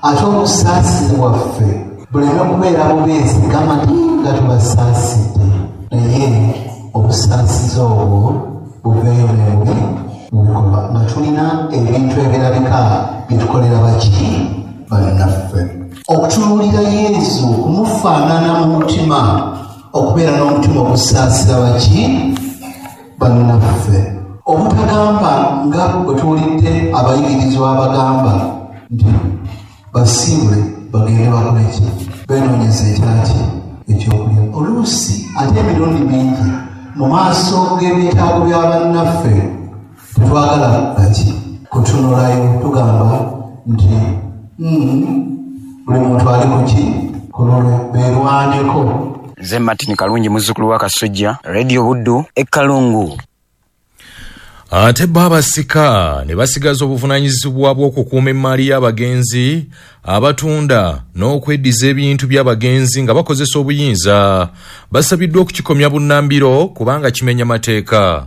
Ate obusaasizi bwaffe buleme kubeera bubeezi gamba nti nga tubasaasidde, naye obusaasizi obwo buveeyo ne mu bikolwa nga tulina ebintu ebirabika bye tukolera baki bannaffe. Okutunuulira Yezu, kumufaanana mu mutima, okubeera n'omutima ogusaasira baki bannaffe. Obutagamba nga bwe tuwulidde abayigirizwa abagamba nti basiibule bagende bakole ki, beenoonyeze ekyaki ekyokulya. Oluusi ate emirundi mingi mu maaso g'ebyetaago bya bannaffe tetwagala baki kutunulayo, tugamba nti buli muntu ali kuki ku lulwe, beerwaneko. Nze Martin Kalungi, muzzukulu wa Kasujja, Radio Buddu e Kalungu. Ate bo abasika ne basigaza obuvunaanyizibwa bw'okukuuma emmaali y'abagenzi, abatunda n'okweddiza ebintu by'abagenzi nga bakozesa obuyinza, basabiddwa okukikomya bunnambiro kubanga kimenya mateeka.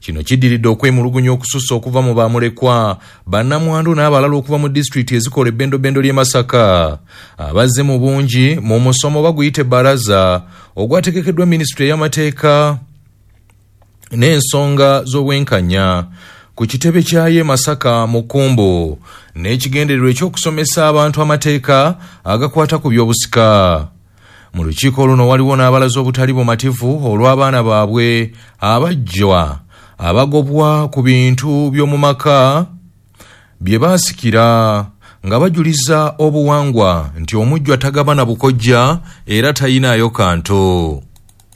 Kino kiddiridde okwemulugunya okusussa okuva mu bamulekwa, bannamwandu n'abalala okuva mu disitulikiti ezikola ebbendobendo ly'e Masaka, abazze mu bungi mu musomo baguyita ebbalaza ogwategekeddwa minisitule y'amateeka n'ensonga z'obwenkanya ku kitebe kyayo e Masaka mu Kkumbu, n'ekigendererwa eky'okusomesa abantu amateeka agakwata ku by'obusika. Mu lukiiko luno waliwo n'abalaze obutali bumativu olw'abaana baabwe abajjwa abagobwa ku bintu by'omu maka bye baasikira, nga bajuliza obuwangwa nti omujjwa tagabana bukojja era tayinaayo kantu.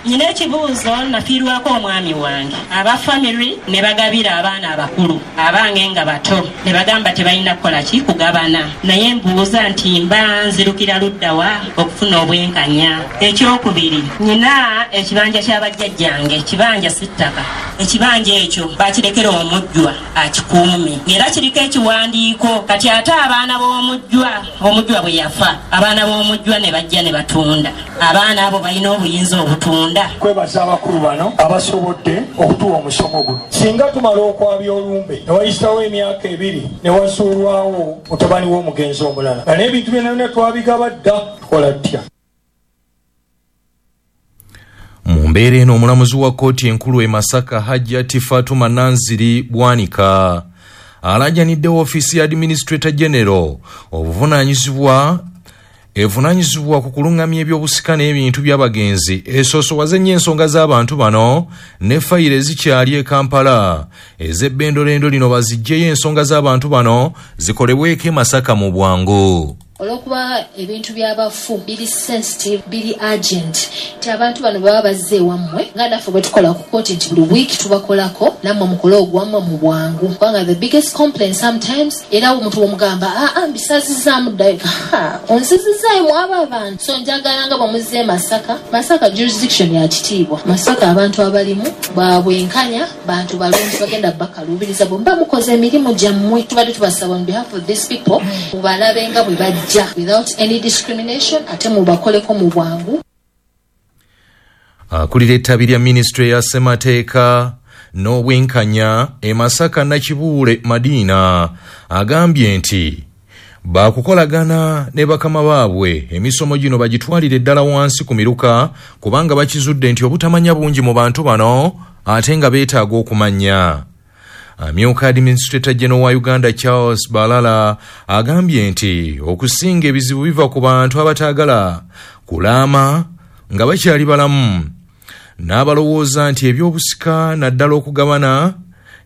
Nina ekibuuzo, nafiirwako omwami wange, aba family ne bagabira abaana abakulu, abange nga bato ne bagamba tebalina kukola ki kugabana, naye mbuuza nti mba nzirukira ludda wa okufuna obwenkanya? Ekyokubiri, nina ekibanja kya bajjajjange, kibanja si ttaka, ekibanja ekyo bakirekera omujjwa akikuume ng'era kiriko ekiwandiiko. Kati ate abaana b'omujjwa, omujjwa bwe yafa abaana b'omujjwa ne bajja ne batunda, abaana abo balina obuyinza obutunda. Kwebaza abakulu bano abasobodde okutuwa omusomo guno. Singa tumala okwabya olumbe ne wayitawo emyaka 2 ne wazuulwawo mutabani w'omugenzi omulala, nga n'ebintu byonna twabigaba dda, tukola tutya? Mu mbeera eno omulamuzi wa kkooti enkulu e Masaka Hajjati Fatuma Nanziri Bwanika alaajanidde woofiisi ya Administrator General evunaanyizibwa ku kulungamya ebyobusika n'ebintu by'abagenzi esoosowaze nnyo ensonga z'abantu bano ne fayiro ezikyali e Kampala ez'ebbendolendo lino baziggyeyo ensonga z'abantu bano zikolebweko e Masaka mu bwangu. Olw'okuba ebintu by'abafu biri sensitive, biri urgent, nti abantu bano baba bazze ewammwe nga naffe bwe tukola ku kkooti nti buli wiiki tubakolako, nammwe mukole ogwammwe mu bwangu, kubanga the biggest complaint sometimes era omuntu bw'omugamba aa mbisazizaamu ddayo, onzizizaayo mwaba abantu. So njagala nga bwe muzze e Masaka, Masaka jurisdiction ya kitiibwa, Masaka abantu abalimu babwenkanya, bantu balungi, bagenda bakaluubiriza bwe muba mukoze emirimu gyammwe. Tubadde tubasaba on behalf of these people mubalabe nga bwe bajja without any discrimination, ate mubakoleko mu bwangu. Akulira ettabi lya minisitule ya ssemateeka n'obwenkanya e Masaka Nakibuule Madina agambye nti baakukolagana ne bakama baabwe emisomo gino bagitwalire ddala wansi ku miruka, kubanga bakizudde nti obutamanya bungi mu bantu bano ate nga beetaaga okumanya. Amyuka Administrator General wa Uganda Charles Balala agambye nti okusinga ebizibu biva ku bantu abataagala kulaama nga bakyali balamu, n'abalowooza nti ebyobusika naddala okugabana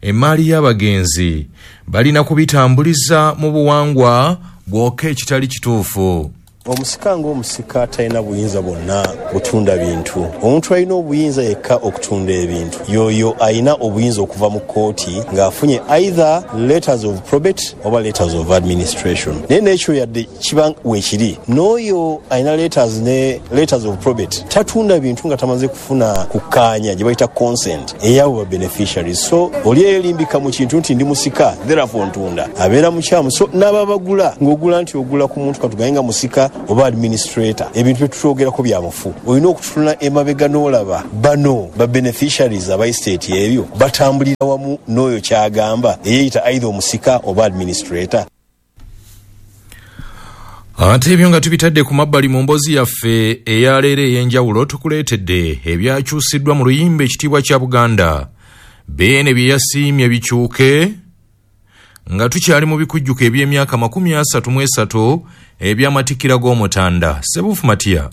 emmaali y'abagenzi balina kubitambuliza mu buwangwa bwokka ekitali kituufu. Omusika ng'omusika talina buyinza bwonna butunda bintu. Omuntu alina obuyinza yekka okutunda ebintu yoyo alina obuyinza okuva mu kkooti ng'afunye either letters of probate oba letters of administration. Naye n'ekyo yadde kiba weekiri, n'oyo alina letters ne letters of probate tatunda bintu nga tamaze kufuna kukkaanya gye bayita consent ey'abo ba beneficiaries. So oli eyelimbika mu kintu nti ndi musika therefore ntunda, abeera mukyamu. So n'ababagula ng'ogula nti ogula ku muntu katugaye nga musika oba administrator, ebintu bye tutwogerako bya mufu. Olina okutunula emabega n'olaba bano ba beneficiaries aba estate ebyo batambulira wamu n'oyo kyagamba eyeeyita either omusika oba administrator. Ate ebyo nga tubitadde ku mabbali, mu mboozi yaffe eyaleero ey'enjawulo tukuleetedde ebyakyusiddwa mu luyimba Ekitiibwa kya Buganda, Beene bye yasiimye bikyuke nga tukyali mu bikujjuko eby'emyaka 33 eby'amatikkira g'Omutanda Sebuufu Matiya.